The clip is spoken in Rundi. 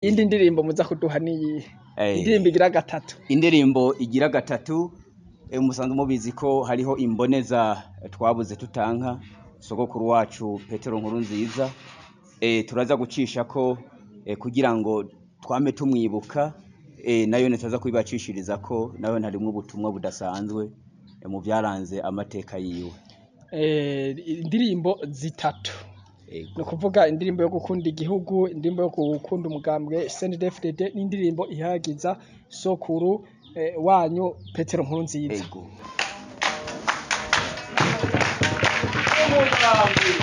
Iyindi ndirimbo muza kuduha niyihe? Indirimbo igira gatatu. Indirimbo igira gatatu, musanzwe mubizi ko hariho imboneza twabuze tutanka, sogokuru wacu Petero Nkurunziza, turaza gucishako kugira ngo twame tumwibuka, nayone turaza kuyibacishirizako, nayone harimwo ubutumwa budasanzwe mu vyaranze amateka yiwe. Indirimbo zitatu. Ni ukuvuga indirimbo yo gukunda igihugu, indirimbo yo gukunda umugambwe CNDD-FDD n'indirimbo ihayagiza sokuru wanyu Petero Nkurunziza. Ego.